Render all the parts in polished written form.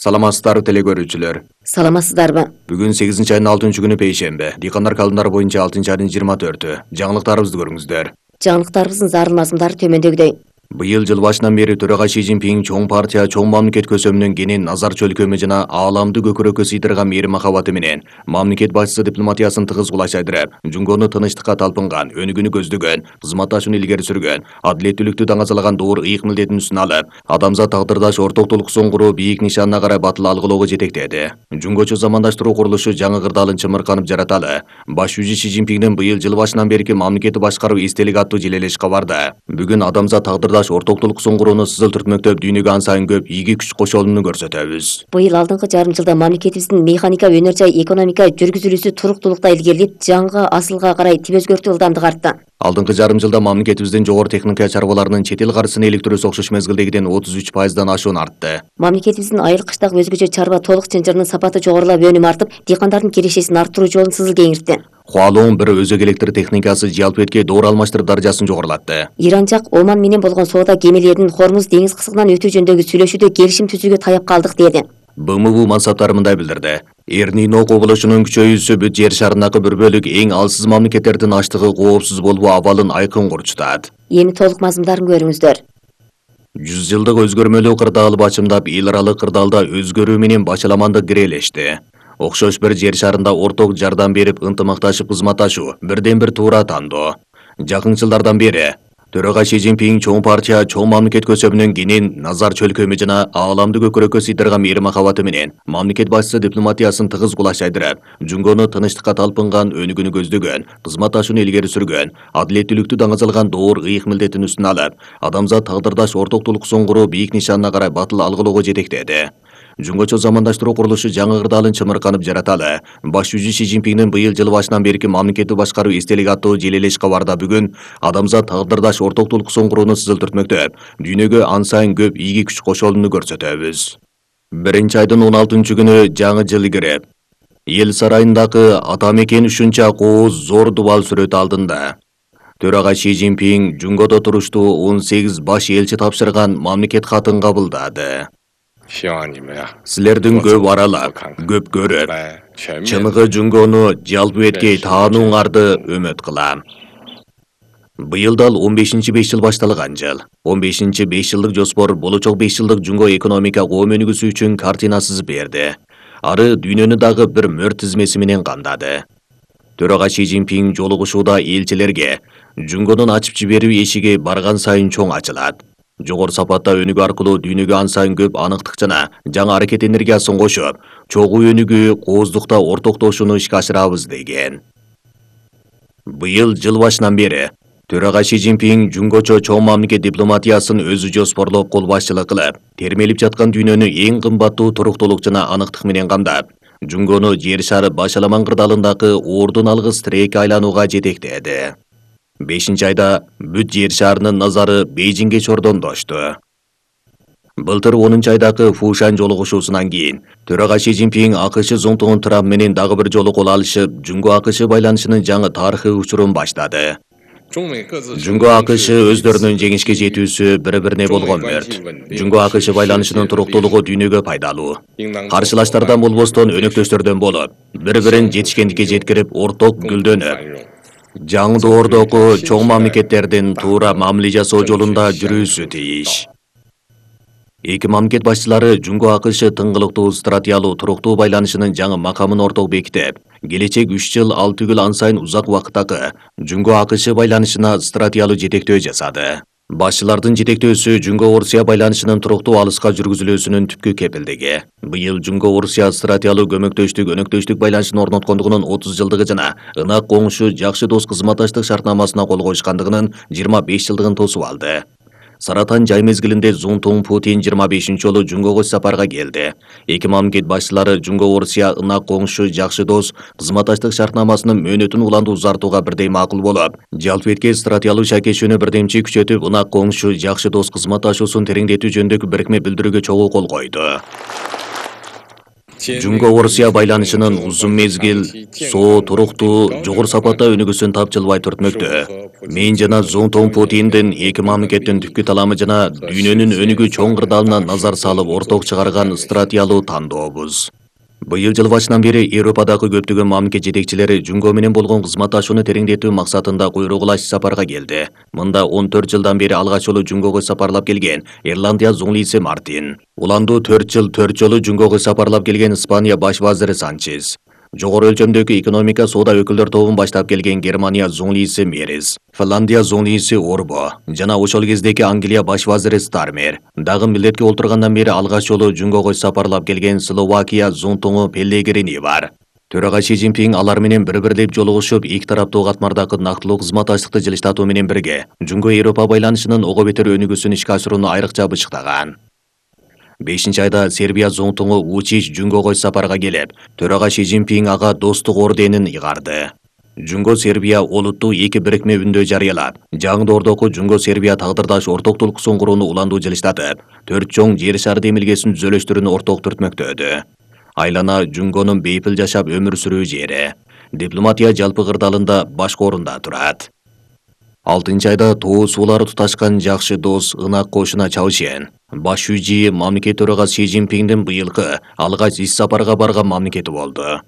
Саламатсыздарбы теле көрүүчүлөр. Саламатсыздарбы? Бүгүн 8-айдын 6-күнү пейшембе. Дыйкандар календары боюнча 6-айдын 24-ү. Жаңылыктарыбызды көрүңүздөр. Жаңылыктарыбыздын зарыл мазмундары төмөндөгүдөй. Быйыл жыл башынан бери төрага Си Цзиньпин чоң партия, чоң мамлекет көсөмүнөн кенен назар чөлкөмү жана ааламды көкүрөккө сыйдырган мээри махабаты менен мамлекет башчысы дипломатиясын тыгыз кулачайдырып, Жунгону тынычтыкка талпынган, өнүгүүнү көздөгөн, кызматташууну илгери сүргөн, адилеттүүлүктү даңазалаган доор ыйык милдетин үстүнө алып, адамзат тагдырдаш ортоктулук соңгуруу бийик нишанына карай батыл алгылоого жетектеди. Жунгочу замандаштыруу курулушу жаңы кырдаалын чымырканып жараталы. Баш жүзү Си Цзиньпиндин быйыл жыл башынан берки мамлекетти башкаруу эстелик аттуу желелеш кабарда. Бүгүн адамзат тагдырдаш ортоктулук соңгурууну сызыл түртмөктөп дүйнөгө ан сайын көп ийги күч кошолууну көрсөтөбүз. Быйыл алдыңкы жарым жылда мамлекетибиздин механика, өнөр жай экономика жүргүзүлүүсү туруктуулукта илгерилип, жаңы асылга карай тип өзгөртүү ылдамдык артты. Алдыңкы жарым жылда мамлекетибиздин жогору техника чарбаларынын чет эл каржысына иликтирүүсү окшош мезгилдегиден 33%дан ашуун артты. Мамлекетибиздин айыл кыштагы өзгөчө чарба толук чынжырынын сапаты жогорулап, өнүмү артып, дыйкандардын кирешесин арттыруу жолун сызыл кеңиртти. Хуалоон бир өзөк электр техникасы жалпы этке доор алмаштырып даражасын жогорулатты. Иран жак Оман менен болгон соода кемелеринин Хормуз деңиз кысыгынан өтүү жөнүндөгү сүйлөшүүдө келишим түзүүгө таяп калдык деди. БМУ мансаптары мындай билдирди. Эрнино кобулушунун күчөйүүсү бүт жер шарындагы бир бөлүк эң алсыз мамлекеттердин аштыгы коопсуз болбоо абалын айкын курчутат. Эми толук мазмундарын көрүңүздөр. 100 жылдык өзгөрмөлүү кырдаал бачымдап, эл аралык кырдаалда өзгөрүү менен бачаламандык кирелешти. Окшош бир жер шарында орток жардам берип, ынтымакташып кызматташуу бирден бир туура тандоо. Жакын жылдардан бери төрага Си Цзиньпин чоң партия, чоң мамлекет көсөмүнөн кенен назар чөлкөмү жана ааламды көкүрөккө сыйдырган мээри махабаты менен мамлекет башчысы дипломатиясын тыгыз кулачайдырып, Жунгону тынычтыкка талпынган, өнүгүүнү көздөгөн, кызматташууну илгери сүргөн, адилеттүүлүктү даңазалаган доор ыйык милдетин үстүнө алып, адамзат тагдырдаш ортоктулук соңгуруу бийик нишанына карай батыл алгылоого жетектеди. Жунгочу замандаштыруу курулушу жаңы кырдаалын чымырканып жараталы. Баш жүзү Си Цзиньпиндин быйыл жыл башынан берки мамлекетти башкаруу эстелик аттуу желелеш кабарда бүгүн адамзат тагдырдаш ортоктулук соңгурууну сызыл түртмөктөп, дүйнөгө ан сайын көп ийги күч кошолууну көрсөтөбүз. 1-айдын 16-күнү жаңы жыл кирип, эл сарайындагы ата мекен ушунча кооз зор дубал сүрөт алдында төрага Си Цзиньпин Жунгодо туруштуу 18 баш элчи тапшырган мамлекет катын кабылдады. Силердин көп аралап, көп көрүп, чыныгы Жунгону жалпы эткей таанууңарды үмүт кылам. Быйыл дал 15-5 жыл башталган жыл. 15-5 жылдык жоспор болочок 5 жылдык Жунго экономика коом өнүгүүсү үчүн картина сызып берди. Ары дүйнөнү дагы бир мөр тизмеси менен кандады. Төрага Си Цзиньпин жолугушууда элчилерге Жунгонун ачып жиберүү эшиги барган сайын чоң ачылат. Жогору сапатта өнүгүү аркылуу дүйнөгө ан сайын көп аныктык жана жаңы аракет энергиясын кошуп, чогуу өнүгүү, кооздукта ортоктошууну ишке ашырабыз деген. Быйыл жыл башынан бери төрага Си Цзиньпин Жунгочо чоң мамлекет дипломатиясын өзү жоспорлоп кол башчылык кылып, термелип жаткан дүйнөнү эң кымбаттуу туруктуулук жана аныктык менен камдап, Жунгону жер шары башаламан кырдаалындагы ордун алгыс тирекке айланууга жетектеди. 5-айда бүт жер шарынын назары Бейжиңге чордондошту. Былтыр 10-айдагы Фушань жолугушуусунан кийин төрага Си Цзиньпин АКШ зонтугун Трамп менен дагы бир жолу кол алышып, Жунго-АКШ байланышынын жаңы тарыхый учурун баштады. Жунго-АКШ өздөрүнүн жеңишке жетүүсү бири-бирине болгон мөрт. Жунго-АКШ байланышынын туруктуулугу дүйнөгө пайдалуу. Каршылаштардан болбостон өнөктөштөрдөн болуп, бири-бирин жетишкендикке жеткирип, орток гүлдөнүп, жаңы доордогу чоң мамлекеттердин туура мамиле жасоо жолунда жүрүүсү тийиш. Эки мамлекет башчылары Жунго-АКШ тыңгылыктуу стратегиялуу туруктуу байланышынын жаңы макамын орток бекитип, келечек 3 жыл ал түгүл ан сайын узак убакыттагы Жунго-АКШ байланышына стратегиялуу жетектөө жасады. Башчылардын жетектөөсү Жунго-Орусия байланышынын туруктуу алыска жүргүзүлүүсүнүн түпкү кепилдиги. Быйыл Жунго-Орусия стратегиялуу көмөктөштүк, өнөктөштүк байланышын орноткондугунун 30 жылдыгы жана ынак коңшу, жакшы дос кызматташтык шартнамасына кол коюшкандыгынын 25 жылдыгын тосуп алды. Саратан жай мезгилинде Зунтун Путин 25 жолу Жунгого сапарга келди. Эки мамлекет башчылары Жунго-Орусия ынак коңшу, жакшы дос кызматташтык шартнамасынын мөөнөтүн уланды узартууга бирдей макул болуп, жалпы этке стратегиялуу шакешүүнү бирдемчи күчөтүп, ынак коңшу, жакшы дос кызматташуусун тереңдетүү жөнүндөгү бирикме билдирүүгө чогуу кол койду. Жунго Орусия байланышынын узун мезгил, соо, туруктуу, жогору сапатта өнүгүүсүн тапжылбай түртмөктө. Мен жана Зонтон Путиндин эки мамлекеттин түпкү таламы жана дүйнөнүн өнүгүү чоң кырдаалына назар салып орток чыгарган стратегиялуу тандообуз. Быйыл жыл башынан бери Европадагы көптөгөн мамлекет жетекчилери Жунго менен болгон кызматташууну тереңдетүү максатында куйругулаш сапарга келди. Мында 14 жылдан бери алгач жолу Жунгого сапарлап келген Ирландия зуңлийси Мартин. Уланду 4 жыл 4 жолу Жунгого сапарлап келген Испания баш вазири Санчес. Жогору өлчөмдөгү экономика соода өкүлдөр тобун баштап келген Германия зуңлийси Мерис. Финляндия зуңлийси Орбо жана ошол кездеги Англия баш вазири Стармер. Дагы милдетке олтургандан бери алгач жолу Жунгого сапарлап келген Словакия зунтуңу Пеллегрини бар. Төрага Си Цзиньпин алар менен бири-бирлеп жолугушуп, эки тараптуу катмардагы нактылуу кызматташтыкты жылыштатуу менен бирге Жунго Европа байланышынын ого бетер өнүгүүсүн ишке ашырууну айрыкча бышыктаган. 5-айда Сербия зонтуңу Вучич Жунгого сапарга келип, төрага Си Цзиньпин ага достук орденин ыгарды. Жунго Сербия олуттуу эки бирикме үндө жарыялап, жаңы ордоку Жунго Сербия тагдырдаш ортоктулуксун курууну уландуу жылыштатып, 4 чоң жер шары демилгесин түзөлүштүрүүнү орток түртмөктөдү. Айлана Жунгонун бейпил жашап өмүр сүрүү жери. Дипломатия жалпы кырдаалында башкы орунда турат. 6-айда тоо суулары туташкан жакшы дос ынак кошуна Чаушен. Баш жүжи мамлекет төрага Си Цзиньпиндин быйылкы алгач ис сапарга барган мамлекети болду.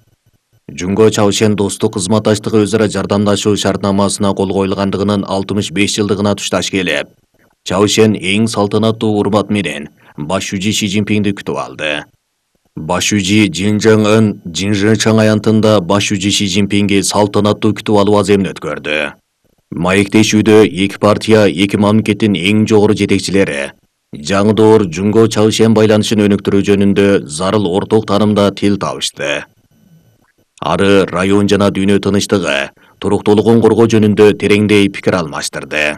Жунго Чаушен достук кызматташтыгы өзара жардамдашуу шартнамасына кол коюлгандыгынын 65 жылдыгына тушташ келип, Чаушен эң салтанаттуу урмат менен баш жүжи Си Цзиньпинди күтүп алды. Баш жүжи Жин Чжэн Ын Жинжичан аянтында баш жүжи Си Цзиньпинге салтанаттуу күтүп алуу аземин өткөрдү. Маектешүүдө эки партия, эки мамлекеттин эң жогору жетекчилери жаңы доор Жунго Чаушен байланышын өнүктүрүү жөнүндө зарыл орток таанымда тил табышты. Ары район жана дүйнө тынычтыгы, туруктуулугун коргоо жөнүндө тереңдей пикир алмаштырды.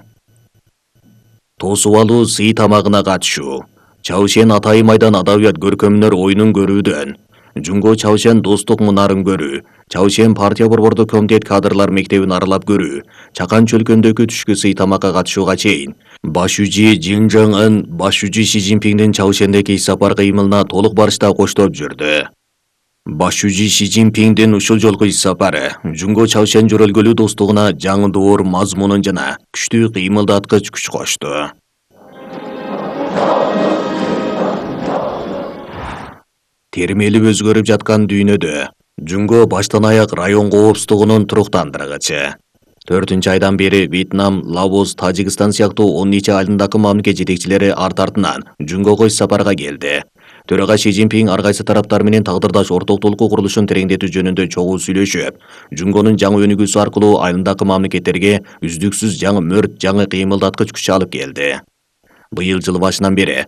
Тосуп алуу сый тамагына катышуу. Чаушен атайым айдан адабият көркөмүнөр оюнун көрүүдөн, Жунго Чаушен достук мунарын көрүү, Чаушен партия борбордук комитет кадрлар мектебин аралап көрүү, Чакан чөлкөндөгү түшкү сый тамакка катышууга чейин баш жүжи Жин Чжэн Ын баш жүжи Си Цзиньпиндин Чаушендеги сапар кыймылына толук барышта коштоп жүрдү. Баш жүжи Си Цзиньпиндин ушул жолку ис сапары Жунго Чаушен жөрөлгөлүү достугуна жаңы доор мазмунун жана күчтүү кыймылдаткыч күч кошту. Термелип өзгөрүп жаткан дүйнөдө Жунго баштан аяк район коопсуздугунун туруктандыргычы. 4-айдан бери Вьетнам, Лаос, Тажикстан сыяктуу 10 нече айылдагы мамлекет жетекчилери арт-артынан Жунгого сапарга келди. Төрага Си Цзиньпин ар кайсы тараптар менен тагдырдаш ортоктулуку курулушун тереңдетүү жөнүндө чогуу сүйлөшүп, Жунгонун жаңы өнүгүүсү аркылуу айылдагы мамлекеттерге үздүксүз жаңы мөрт, жаңы кыймылдаткыч күч алып келди. Быйыл жыл башынан бери